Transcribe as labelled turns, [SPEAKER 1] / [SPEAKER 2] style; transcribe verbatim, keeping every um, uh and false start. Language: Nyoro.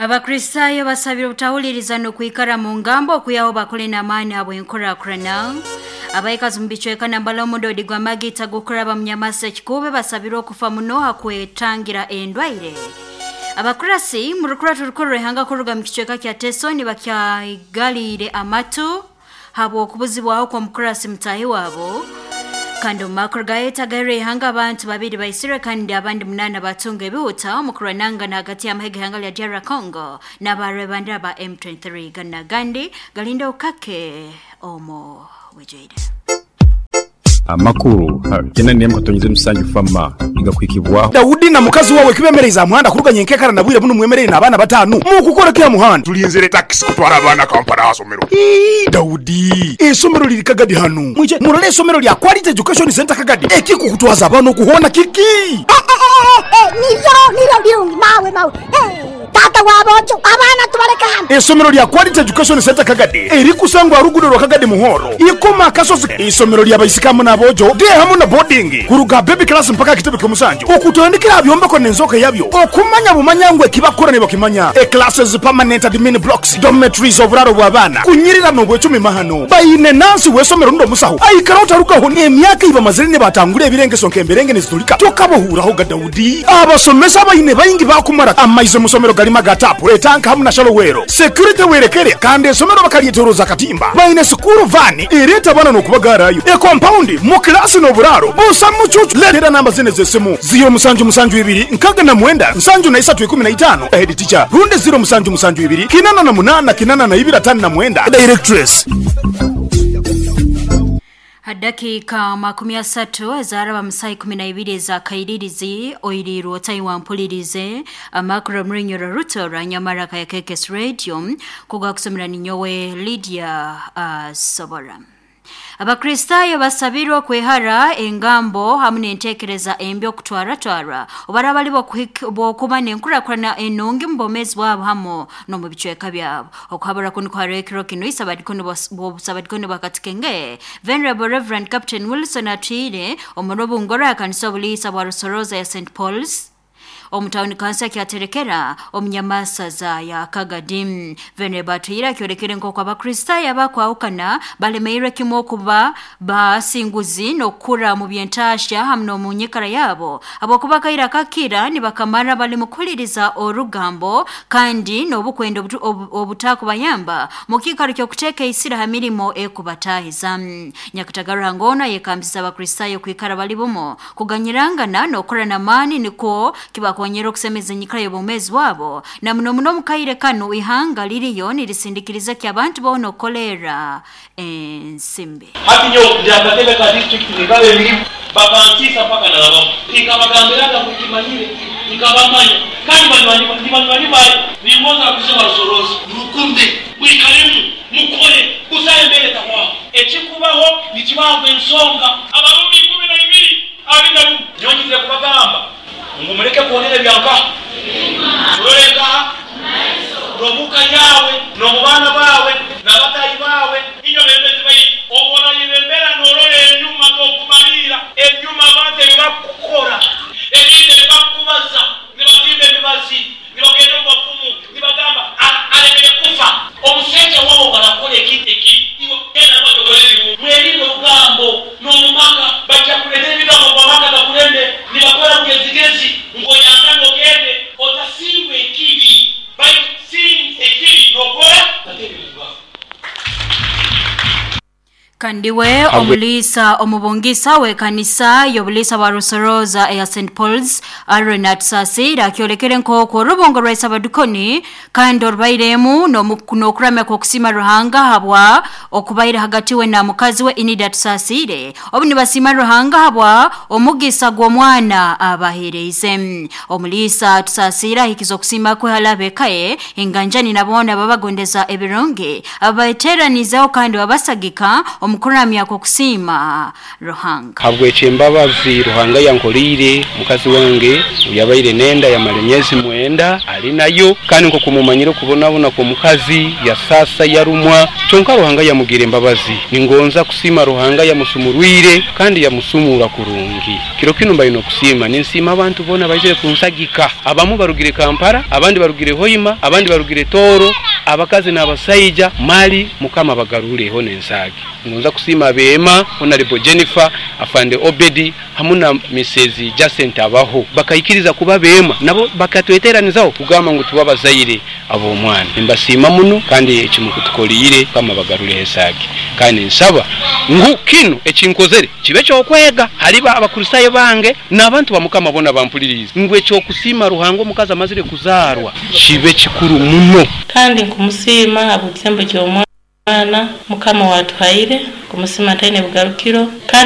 [SPEAKER 1] Abakristayo basabira obutahuliriza n'okwikara mu ngambo okuyaho bakole n'amaani habw'enkurakurana. Abaikazi mu bicweka nambala omudodi gwa magita gukuraba mu Nyamasa Kikube basabirwa okufa muno hakwetangira endwaire. Abakurasi mu rukurato rukuru rw'ihanga kuruga mu kicweka kya Teso nibakyaigaliire amatu habw'okubuzibwaho kw'omukurasi mutahi wabo. Kandi omu makuru gayetagaire ihanga abantu babiri baisirwe kandi abandi munana batunga ebihuta omu kurwanangana hagati y'amahega ihanga lya D R Congo n'abarwebandera ba M twenty-three. Gana gandi galinde ukake omo wejeire.
[SPEAKER 2] Amakuru tena nemu katonyize musanju fama igakwikibwa
[SPEAKER 3] Daudi na mukazi wawe kibemereza muhanda kuruganya enkekara nabwire buno mwemerere n'abana batanu mukukora kya muhanda
[SPEAKER 4] tulinzire taxi kutwara abana Kampala asomero.
[SPEAKER 3] Ii Daudi esomero liri Kagadi hano mwije murole esomero lya Quality Education Center Kagadi ekikukutwaza abana okuhona kiki
[SPEAKER 5] eh, eh, eh, niryo niryo byungi mawe mawe eh. Tata wabojo abana tubareka hano.
[SPEAKER 3] Esomero lya Quality Education Center Kagadi erikusangwa rugudo rwa Kagadi Muhoro ikoma kasozi. Isomero lya baisikamu nabojo de hamu na boarding kuruga baby class mpaka kitebe kyomusanju okutandikira byombeko nenzoka yabyo okumanya bumanyangwe kibakora ne bakimanya e classes permanent admin blocks dormitories oburaro bw'abana kunyirira no bwecumi mahano bayine nansi wesomero ndo musaho aikara utarukaho ne emyaka iba mazire ne batangure ebirengeso nkemberenge nezitulika tokabohuraho ga Daudi abasomesa bayine bayingi bakumara amaize musomero gali magatapu etanka hamu na shalowero security werekere kandi esomero bakalyeteroza katimba bayine sukuru vani ereta bana nokubagarayo e compound mu klasi no buraro busa mucucu letera namba zine zesimu zero musanju musanju ibiri nkaga na mwenda nsanju na isatu ikumi na itano head teacher runde zero musanju musanju ibiri kinana na munana kinana na ibira tano na mwenda directress.
[SPEAKER 1] Hadakika makumi asatu ezaraba musai kumi na ibiri za kairirizi oirirwo Taiwan mpulirize amakuru mrinyoro ruto ranyamara kaya K K S Radio kuga kusomera ninyowe Lydia uh, Sobora. Abakristayo basabirwa kwehara engambo hamu n'entekereza embi okutwaratwara obarabali bokuba n'enkurakurana enungi mu bomezi bwabo hamu n'omu bicweka byabo. Okuhabura kuno kwarekero kino isabadikono bosabadikono bakatikenge Venerable Reverend Captain Wilson Atwire omurobu ngora ya kanisa obuliisa bwa Rusoroza ya Saint Paul's omutawuni kansa kyaterekera omunyamasaza ya Kagadi. Venerable Atwire akyorekere nk'oku abakristayo abakwawukana balemeirwe kimwe okuba basinguzi n'okukura mu byentasha hamu n'omu nyikara yabo abokuba kaira kakira nibakamara bali mukuliriza orugambo kandi n'obukwenda obutakubayamba mu kiikaro ky'okuteeka isira ha mirimo ekubatahiza. Nyakatagara ngona yekambisa abakristayo kwikara bali bumo kuganyirangana n'okukora n'amaani nikwo kibako konyera okusemeza enyikara y'obwomeezi bwabo na muno muno mukaire kanu ihanga liriyo nirisindikiriza ki abantu boona okukolera ensimbi.
[SPEAKER 6] Hati nyo ndakatebe ka district nikabe emirimu bakantisa paka nalabamo nikabagambiraga kukimanyire nikabamanya kandi banywanyi banywanyi bayi ningoza kusema rusorozi murukunde mwikaremu mukore kusaye mbere tawa ekikubaho nikibaho ensonga abarumi ikumi na ibiri abiri na rumwe nyongize kubagamba ngo mureke kuonera byanka tureka robuka yawe no mubana bawe nabatayi bawe inyo bembezi bayi obona yibembera norore enyuma tokumalira enyuma bate bakukora ebinde bakubaza nibatimbe bibazi nibagenda mu bafumu nibagamba alemere kufa omuseke wabo barakora ekiteki iwo genda batogolere mweri ogambo no mumaka bajja kuletera ebigambo bamaka gakulende nibakora mugezigezi ngoyangano ogende otasingwe ekibi by seeing ekibi nokora
[SPEAKER 1] Kandiwe omulisa omubungisa we kanisa y'obulisa bwa Rusoroza ya Saint Paul's Aaron Atsasira akyolekere nk'oku orubungo rwa Isabadukoni kandi orubairemu n'okuramya kw'okusima Ruhanga habwa okubaire hagati we na mukazi we Inida Tusasire obu nibasima Ruhanga habwa omugisa gw'omwana abahereize. Omulisa Tusasira ahikiza okusima kwe halabekaye enganjani nabona babagondeza ebirungi abateranizaho kandi babasagika Omukuramya kw'okusiima Ruhanga.
[SPEAKER 7] Habwekyo embabazi Ruhanga yankorire, mukazi wange yabaire nenda yamara emyezi mwenda ali nayo, kandi nkokumumanyire okubonabona kw'omukazi yasasa yarumwa, kyonka Ruhanga yamugira embabazi. Ningonza kusiima Ruhanga yamusumurwire kandi yamusumura kurungi. Kiro kino mbaine okusiima, ninsiima abantu boona baizire kunsagika. Abamu barugire Kampala, abandi barugire Hoima, abandi barugire Tooro, abakazi n'abasaija mali Mukama bagarureho n'ensaagi. Ngonza kusiima abeema Honorable Jennifer, Afande Obedi hamu na Missus Jacent Abaho, bakaikiriza kuba beema nabo bakatweteranizaho kugamba ngu tuba bazaire ab'omwana. Nimbasiima muno kandi ekimukutukolire Mukama bagarureho ensaagi. Kandi nsaba ngu kinu ekinkozere kibe kyokwega haliba Abakristayo bange n'abantu ba Mukama bona bampulirize, ngu ekyokusiima Ruhanga omukazi amazire kuzaarwa kibe kikuru muno.
[SPEAKER 8] Kandi nkumusiima habw'ekisembo ky'omwana Mukama watuhaire, kumusiima taine bugarukiro. Kandi